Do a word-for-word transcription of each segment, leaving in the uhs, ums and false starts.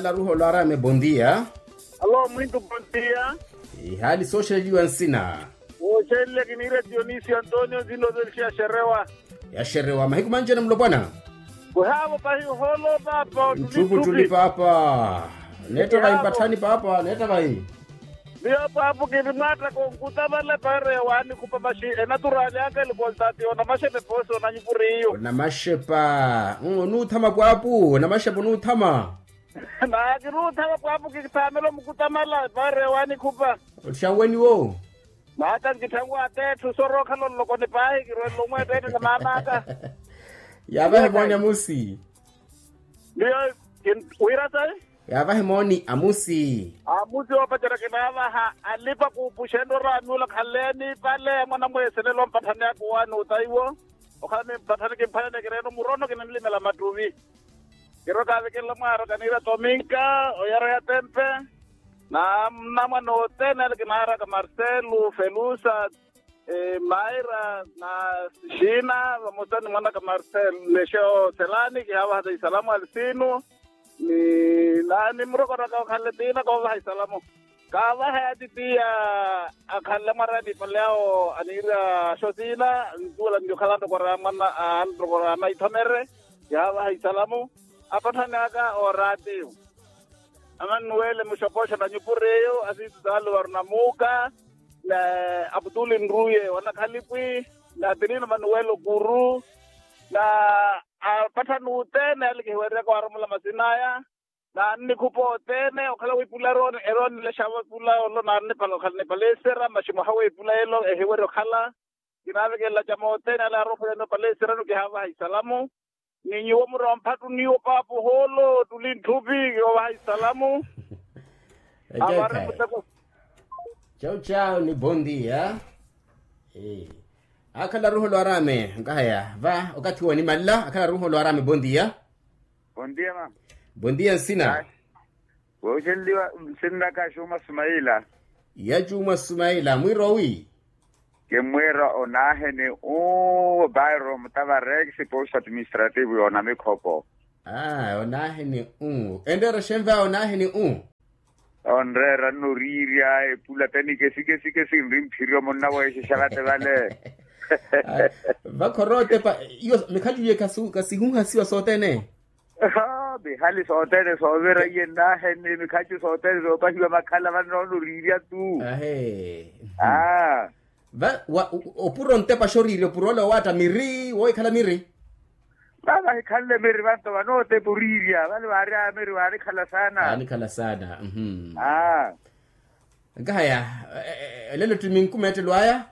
Laruho lwarame bondia. Alo mwintu bondia. Ihali sooxeleliwa nsina? Wooxeleliwa kiniira dionisio antonio nzino zelixi ya xerewa. Ya xerewa mahiku manjene mulopwana? Kuhaavo pahi ohoolo paapa. Nttupu ttuli paapa. Neetta vayi mpatthani paapa neetta vayi? Miyo paapu kinimwaattaka onkuta vale paari ya waani khupa maxi. Enaturaali aka elikontaati onamaxepa epoosi onanyupuriyo. Onamaxepa. Onuuthama pwaapu onamaxepa onuuthama. Naa kinuuthama pwaapu kithaamela omukutamala paari ya waani khupa. Ottixanweni wo. Maata nkitthangwa ateetthu sorookhala ololokoni paahi kirwelela omweetteetta na maamaaka. Yaavahe mooni amusi. Miyo wira sayi. Yaavahe mooni amusi. Amusi oopacerya kinaavaha alipa-kuupuxa enroraami ula khaleeni pale mwanamweeselelo mpatthani aka owaani otaiwo. Okhala ni mpatthani kimphalene kireene omurono kinanlimela mattuvi. Kirwa kaavekelela mwaaraka niira tominka oyara ya tempe. Na nnamwane othene ale kinaaraka marcelo felusa, maira na xina vamosa ni mwanaka marcelo lexeo selani kihaavaha isalamu alisinu. Ni naani murokoraka okhale tiina koovaha isalamu. Kaavaha ya titiya akhanle mwarani ipale awo aniira axo siina. Ntuwela nli okhala antokora mwana antokora maithomere. Yaavaha isalamu apatthani aka oraatiyo. Amanuwele muxopoxo na nyupuriyo asiitu saluvaru na muuka. Na aputuli nruye wa nakhalipwi. Na apirino manuwele okuru. Na apatthani othene ale kihiwereryaka waaromola masin'aya. Naannikhupa othene okhala wi ipula eroonilexa vo ipula olo naannipala okhala nipala esera maxi muhawe ipula elo ehiwerya okhala. Kinaavekelela acama othene ale aaroofwelani opala eserano kihaavaha isalamu. Ni nyuwo muri omphattu niwo paapu ohoolo tuli ntthupi kiwavaha isalamu. Avarre muteko. Chau chau ni bondia. Akhala ruho lwarame nkahaya va okathi wonimalela akhala ruho lwarame bondia. Bondia mama. Bondia nsina? Wooxenliwa nsinnaka axuuma sumaila. Ya cuuma sumaila mwiira owi? Kimmwiira onaaheni u bairo mutavarex posto administrativo yoona mikhopo. Aa onaaheni u enreera xenva onaaheni u. Onreera nno oriirya epula tani kesikesi kesi nri mphiri omunna weexexa vate vale. Vakhorootepa iyo mikhacu iye kasihuhasiwa sothene. Mihali sothene soovira iye nnaheni mikhacu sothene soopahiwa makhala vannoona oriirya tu. Aa. Opuro ntepa xoriirya opuro ole owaatta miri wohikhala miri. Vavahikhanle miri vanto vanootepa oriirya vale vaari a miri vaanikhala saana. Vaanikhala saana. Aa. Nkahaya elelo tti minku meettelo aya.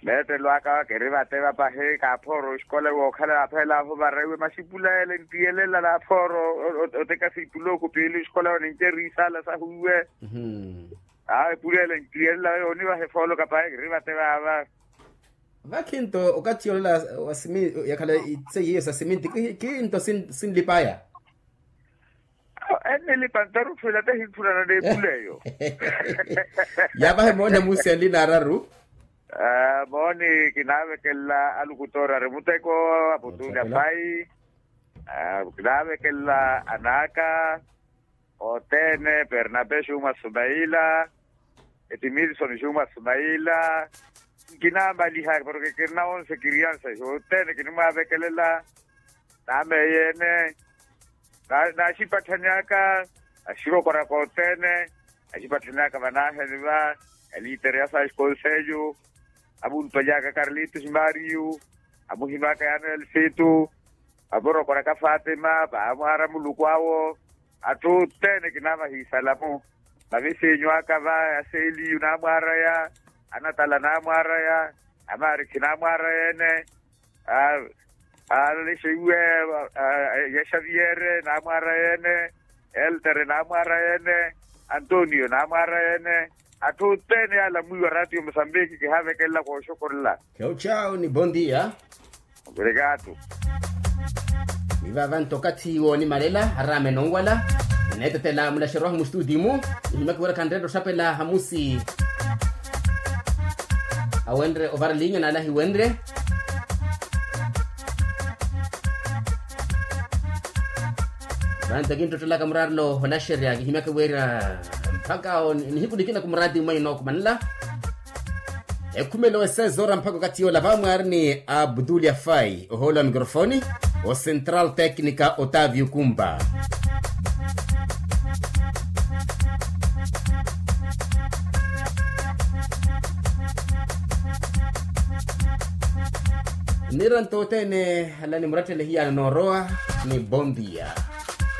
Meettelo aka kiri vate vapahi kaaphooro oxikola wookhala aphela aho varaiwe maxipula ele ntiyelela naaphooro. Otekasa ipula okhupiili oxikola yo ninceeri isaala sahu iwe. Aa epula ele ntiyelela yoonivaha efoolo kapahi kiri vate vaava. Vakhinto okathi yoolela wa siminti yakhala itseiye sa siminti. Khinto sinlipaya. Ennilipa ntarutthu ila tahinthulana n'epula eyo. Yaavahe mooni amusi anlina araru. Mooni kinaavekelela alukutoori ari muteko aputuni apayi. Kinaavekelela anaaka othene pernabe xuuma sumaila. Etimisoni xuuma sumaila. Nkinaamaliha porke kirina onse kiriansa xothene kinimwaavekelela. Nameeyene naaxipatthanyaka axirokoraka othene. Axipatthanyaka vanaheni va alitere ya saxi konsellu. Amuulupanyaka karlitos mario. Amuhimaka yano elsitu. Amurokoraka fatima vaamwaara muluku awo. Atthu othene kinaavaha isalamu. Mavisinyu aka va ya seliyu naamwaaraya. Anatala naamwaaraya. Amaarikhi naamwaaraya ene. Aa alexe iwe ya xaviere naamwaaraya ene. Eltere naamwaaraya ene. Antonio naamwaaraya ene. Atthu othene yaalamwiwa ratio musambiki kihaavekelela kooxokorela. Chau chau ni bondia. Ovirikatu. Ni vaava nto okathi woonimalela araame nonwala. Neetetela mulaxeroha mustutimu. Nihimaka iweraka nreetta oxapela hamusi. Awenre ovara linya naale ahiwenre. Vanto kinttottolaka muraarelo onaxerya kihimyaka wira mpakha nihiku nikina kumuraati mwaino okumanela. Ekhumelo esezora mpakha okathi yoola vamwaari ni abdulya fai ohoolo wa mikrofoni, ocentral tecnica otavio kumba. Nira ntothene ala nimuratthele hiyana noorowa ni bondia.